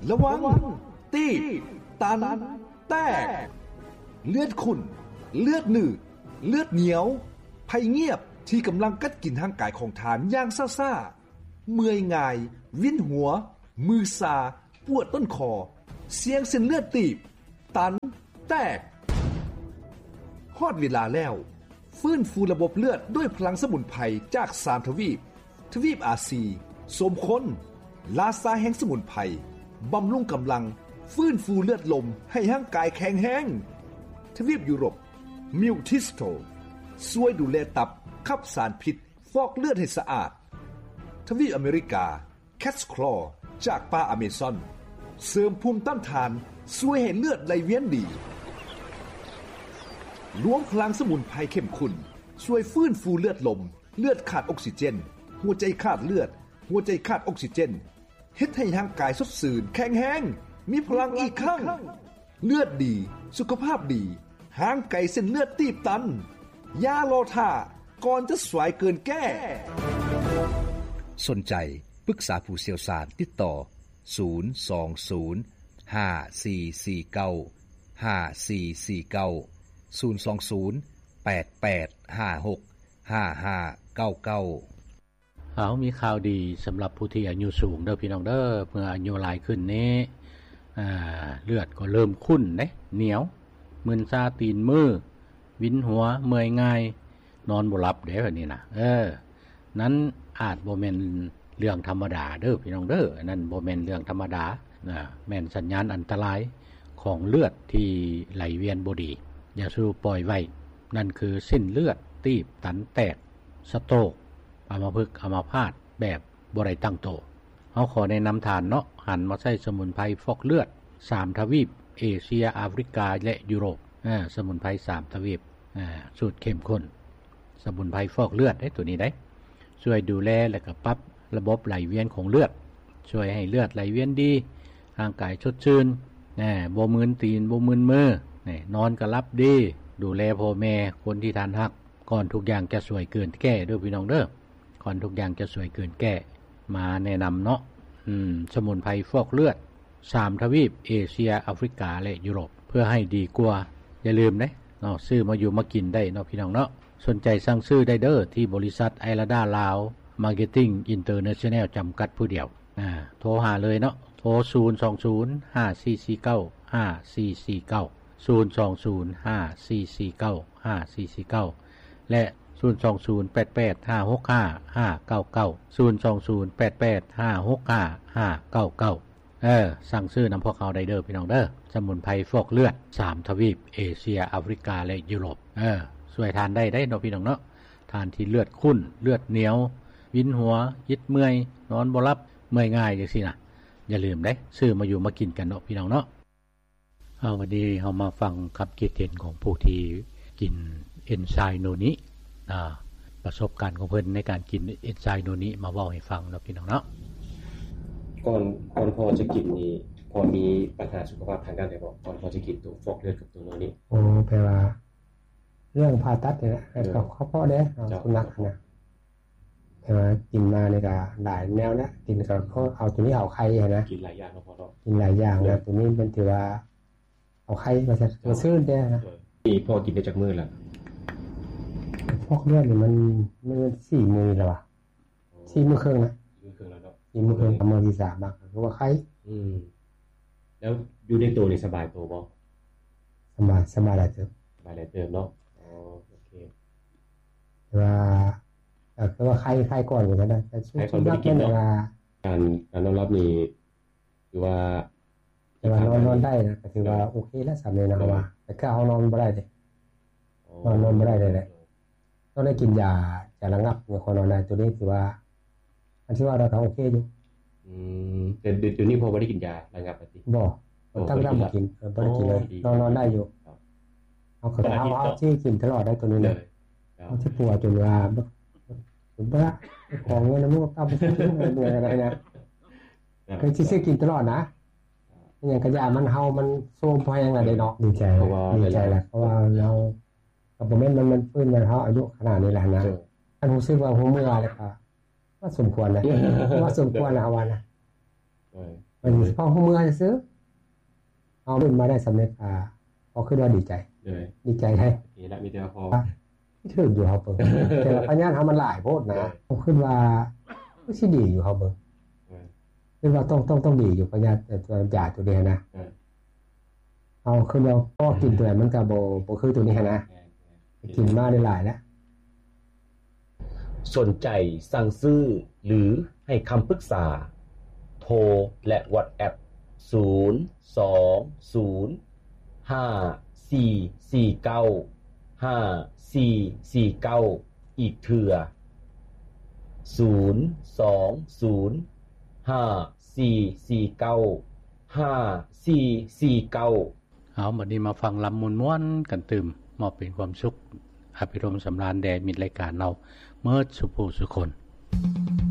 ລະວັງ ຕີບ ຕັນ ແຕກ ເລືອດຂຸ້ນ ເລືອດໜືດ ເລືອດໜຽວ ໄພງຽບທີ່ກຳລັງກັດກິນຮ່າງກາຍຂອງທ່ານຢ່າງຊ້າໆ, ເມື່ອຍງ່າຍ, ວິນຫົວ, ມືຊາ, ປວດຕົ້ນຄໍ, ສ່ຽງເສັ້ນເລືອດຕີບ, ຕັນ, ແຕກ. ຮອດເວລາແລ້ວ, ຟື້ນຟູລະບົບເລືອດດ້ວຍພະລັງສະໝຸນໄພຈາກສາມທະວີບ, ທະວີບອາຊີ, ສົມຄົນ, ລາຊາແຫ່ງສະໝຸນໄພ, ບຳລຸງກຳລັງ, ຟື້ນຟູເລືອດລົມໃຫ້ຮ່າງກາຍແຂງແຮງ. ທະວີບຢູໂຣບ, ມິວທິສໂຕ, ຊ່ວຍດູແລຕັບ, ຂັບສານພິດ, ຟອກເລືອດໃຫ້ສະອາດ. ທະວີບອາເມລິກາ, ແຄດສະຄລໍຈາກປ່າອາເມຊອນ ເສີມພູມຕ້ານທານ, ຊ່ວຍໃຫ້ເລືອດໄຫຼວຽນດີ. ລວມພະລັງສະໝຸນໄພເຂັ້ມຂຸ້ນ ຊ່ວຍຟື້ນຟູເລືອດລົມ, ເລືອດຂາດອົກຊີເຈນ, ຫົວໃຈຂາດເລືອດ, ຫົວໃຈຂາດອົກຊີເຈນ, ເຮັດໃຫ້ຮ່າງກາຍສົດຊື່ນ, ແຂງແຮງ, ມີພະລັງອີກຄັ້ງ. ເລືອດດີ, ສຸຂະພາບດີ, ຫ່າງໄກເສັ້ນເລືອດຕີບຕັນ. ຢ່າລໍຖ້າ, ກ່ອນຈະສວຍເກີນແກ້. ສົນໃຈປຶກສາຜູ້ຊ່ຽວຊານ, ຕິດຕໍ່ ສູນສອງສູນ ຫ້າສີ່ສີ່ເກົ້າ ຫ້າສີ່ສີ່ເກົ້າ, ສູນສອງສູນ ແປດແປດຫ້າຫົກ ຫ້າຫ້າເກົ້າເກົ້າ. ເຮົາມີຂ່າວດີສຳລັບຜູ້ທີ່ອາຍຸສູງເດີພີ່ນ້ອງເດີ. ເມື່ອອາຍຸຫຼາຍຂຶ້ນນີ້ ອາ ເລືອດກໍເລີ່ມຂຸ້ນເດ້, ໜຽວ, ມຶນຊາຕີນມື, ວິນຫົວ, ເມື່ອຍງ່າຍ, ນອນບໍ່ຫຼັບເດ້ ແບບນີ້ນະ. ເອີ ນັ້ນອາດບໍ່ແມ່ນເລື່ອງທຳມະດາເດີພີ່ນ້ອງເດີ. ອັນນັ້ນບໍ່ແມ່ນເລື່ອງທຳມະດານະ, ແມ່ນສັນຍານອັນຕະລາຍຂອງເລືອດທີ່ໄຫຼວຽນບໍ່ດີ. ຢ່າສູ່ປ່ອຍໄວ້. ນັ້ນຄືເສັ້ນເລືອດຕີບ, ຕັນ, ແຕກ, ສະໂຕກ, ອຳມະພຶກ, ອຳມະພາດແບບບໍ່ໄດ້ຕັ້ງໂຕ. ເຮົາຂໍແນະນຳທ່ານເນາະ, ຫັນມາໃຊ້ສະໝຸນໄພຟອກເລືອດສາມທະວີບ, ເອເຊຍ, ອາຟຣິກາ ແລະ ຢູໂຣບ. ອາ ສະໝຸນໄພສາມທະວີບ, ອາ ສູດເຂັ້ມຂຸ້ນ. ສະໝຸນໄພຟອກເລືອດເດ້ ໂຕນີ້ໄດ໋ ຊ່ວຍດູແລ ແລະ ກໍປັບລະບົບໄຫຼວຽນຂອງເລືອດ, ຊ່ວຍໃຫ້ເລືອດໄຫຼວຽນດີ, ຮ່າງກາຍສົດຊື່ນ, ແນ່ ບໍ່ມຶນຕີນ, ບໍ່ມຶນມື, ແນ່ ນອນກໍຫຼັບດີ. ດູແລພໍ່ແມ່, ຄົນທີ່ທ່ານຮັກ, ກ່ອນທຸກຢ່າງຈະສວຍເກີນແກ້ເດີພີ່ນ້ອງເດີ. ກ່ອນທຸກຢ່າງຈະສວຍເກີນແກ້, ມາແນະນຳເນາະ. ອືມ ສະໝຸນໄພຟອກເລືອດສາມທະວີບ, ເອເຊຍ, ອາຟຣິກາ ແລະ ຢູໂຣບ, ເພື່ອໃຫ້ດີກວ່າ. ຢ່າລືມເດ້ເນາະ, ຊື້ມາຢູ່ມາກິນໄດ້ເນາະ ພີ່ນ້ອງເນາະ. ສົນໃຈສັ່ງຊື້ໄດ້ເດີ ທີ່ບໍລິສັດໄອລາດາລາວ ມາເກັດຕິງ ອິນເຕີເນຊັນແນວ ຈຳກັດຜູ້ດຽວ. ອາ ໂທຫາເລີຍເນາະ, ໂທ ສູນສອງສູນ ຫ້າສີ່ສີ່ເກົ້າ ຫ້າສີ່ສີ່ເກົ້າ, ສູນສອງສູນ ຫ້າສີ່ສີ່ເກົ້າ ຫ້າສີ່ສີ່ເກົ້າ ແລະ ສູນສອງສູນ ແປດແປດຫ້າຫົກຫ້າ ຫ້າເກົ້າເກົ້າ, ສູນສອງສູນ ແປດແປດຫ້າຫົກຫ້າ ຫ້າເກົ້າເກົ້າ. ເອີ ສັ່ງຊື້ນຳພວກເຮົາໄດ້ເດີ ພີ່ນ້ອງເດີ. ສະໝຸນໄພຟອກເລືອດສາມທະວີບ, ເອເຊຍ, ອາຟຣິກາ ແລະ ຢູໂຣບ. ເອີ ຊ່ວຍທ່ານໄດ້ໄດ໋ເນາະ ພີ່ນ້ອງເນາະ. ທ່ານທີ່ເລືອດຂຸ້ນ, ເລືອດໜຽວ, ວິນຫົວ, ອິດເມື່ອຍ, ນອນບໍ່ຫຼັບ, ເມື່ອຍງ່າຍ ຈັ່ງຊີ້ນະ, ຢ່າລືມເດ້, ຊື້ມາຢູ່ມາກິນກັນເນາະ ພີ່ນ້ອງເນາະ. ເອົາ ວັນນີ້ເຮົາມາຟັງຄຳຄິດເຫັນຂອງຜູ້ທີ່ກິນເອັນໄຊໂນນິ, ອາ ປະສົບການຂອງເພິ່ນໃນການກິນເອັນໄຊໂນນິ ມາເວົ້າໃຫ້ຟັງເນາະ ພີ່ນ້ອງເນາະ. ກ່ອນ ກ່ອນພໍ່ຈະກິນນີ້ ພໍ່ມີບັນຫາສຸຂະພາບທາງດ້ານໃດບໍ່? ກ່ອນພໍ່ຈະກິນໂຕຟອກເລືອດກັບໂຕໂນນິ. ໂອ້ ແປວ່າເລື່ອງຜ່າຕັດນີ້ແຫຼະ ເອີ ກໍເພາະເດ້ ເຈົ້າ ສຸນັກຫັ້ນນະ. ແຕ່ວ່າກິນມານີ້ກໍຫຼາຍແນວນະ, ກິນກໍເອົາໂຕນີ້ເອົາໄຂ່ຫັ້ນນະ, ກິນຫຼາຍຢ່າງເນາະພໍ່ເນາະ, ກິນຫຼາຍຢ່າງນະ. ໂດຍ ໂຕນີ້ມັນຖືວ່າເອົາໄຂ່ວ່າຊັ້ນ ໂດຍ ຊື່ນແດ່ນະ. ໂດຍ ນີ້ພໍ່ກິນໄດ້ຈັກມື້ລະ? ພວກເລືອດນີ້ມັນ ມັນສີ່ມື້ແລ້ວວະ, ໂອ້ ສີ່ມື້ເຄິ່ງນະ, ສີ່ມື້ເຄິ່ງແລ້ວເນາະ, ສີ່ມື້ເຄິ່ງ. ໂດຍ ມື້ທີສາມມາກໍຄືວ່າໄຂ່. ອືມ ແລ້ວຢູ່ໃນໂຕນີ້ສະບາຍໂຕບໍ່? ສະບາຍ ສະບາຍຫຼາຍເຕີບ, ສະບາຍຫຼາຍເຕີບເນາະ. ອໍ ໂອເຄ ແຕ່ວ່າ ກໍຄືວ່າໄຂ່ ໄຂ່ກ່ອນວ່າຊັ້ນນະ, ແຕ່ ໄຂ່ກ່ອນບໍ່ໄດ້ກິນເນາະ. ການ ການນອນຫຼັບນີ້ຖືວ່າ ແຕ່ວ່ານອນ ນອນໄດ້ນະ ກໍຖືວ່າ ໂດຍ ໂອເຄແລ້ວ ສ່ຳນີ້ນະ. ໂດຍ ເຮົາວ່າ ແຕ່ຄືເຮົານອນບໍ່ໄດ້ເດ້, ອໍ ນອນ ນອນບໍ່ໄດ້ເລີຍແຫຼະ. ໂດຍ ຕ້ອງໄດ້ກິນຢາ ຢາລະງັບ ຍັງຄ່ອຍນອນໄດ້. ໂຕນີ້ຖືວ່າ ອັນທີ່ວ່າເຮົາກໍໂອເຄຢູ່. ອືມ ແຕ່ດຽວນີ້ພໍ່ບໍ່ໄດ້ກິນຢາລະງັບຕິ? ບໍ່ ຕັ້ງແຕ່ບໍ່ກິນ ເອີ ບໍ່ໄດ້ກິນເລີຍ. ອໍ ດີ ນອນ ນອນໄດ້ຢູ່. ເຮົາກໍ ເຮົາ ເຮົາຊິກິນຕະຫຼອດໄດ໋ໂຕນີ້ນະ. ໂດຍ ເຮົາຊິປົວຈົນວ່າ ບໍ່ ບໍ່ ຂໍເງິນນຳລູກເຕົ້າໄປຊື້ກິນເມື່ອຍກໍໄດ້ນະ. ຄືຊິຊື້ກິນຕະຫຼອດນະ, ອີຫຍັງກະຢ່າ ມັນເຮົາ ມັນໂຊມພໍແຮງລະເດ້ເນາະ. ດີໃຈ ດີໃຈລະ ເພາະວ່າເຮົາ ກໍບໍ່ແມ່ນ ມັນ ມັນຟື້ນ ມັນເຮົາອາຍຸຂະໜາດນີ້ແຫຼະຫັ້ນນະ. ໂດຍ ຄັນຮູ້ສຶກວ່າຫົວເມື່ອແລ້ວກໍ ວ່າສົມຄວນນະ, ວ່າສົມຄວນນະ ເຮົາວ່ານະ. ໂດຍ ມັນເປັນສະເພາະຫົວເມືອຊື່ໆ ເຮົາເປັນມາໄດ້ສຳເລັດ ອ່າ ກໍຄືວ່າດີໃຈ ໂດຍ ດີໃຈໄດ໋ ໂອເຄລະ ມີແຕ່ວ່າພໍ ຖືກຢູ່ເຮົາເບິ່ງ ແຕ່ວ່າພະຍາດເຮົາມັນຫຼາຍໂພດນະ ໂດຍ ເຮົາຄິດວ່າຄືຊິດີຢູ່ເຮົາເບິ່ງ ໂດຍ ຄິດວ່າຕ້ອງ ຕ້ອງ ຕ້ອງດີຢູ່ພະຍາດ ເອີ ຢາຕົວນີ້ນະ ໂດຍ ເຮົາຄືວ່າພໍກິນຕົວໃດມັນກໍບໍ່ ບໍ່ຄືຕົວນີ້ຫັ້ນນະ ແມ່ນໆ ກິນມາໄດ້ຫຼາຍແລ້ວ. ສົນໃຈສັ່ງຊື້ ຫຼື ໃຫ້ຄຳປຶກສາ ໂທ ແລະ ວອດແອັບ ສູນ ສອງ ສູນ ຫ້າ ສີ່ ສີ່ ເກົ້າ ຫ້າ ສີ່ ສີ່ ເກົ້າ ອີກເທື່ອ ສູນ ສອງ ສູນ ຫ້າ ສີ່ ສີ່ ເກົ້າ ຫ້າ ສີ່ ສີ່ ເກົ້າ. ເອົາ ບັດນີ້ມາຟັງລຳມ່ວນໆກັນຕື່ມ ມອບເປັນຄວາມສຸກ ອາພິລົມສຳລານແດ່ມິດລາຍການເຮົາເໝິດສູ່ຜູ້ສູ່ຄົນ.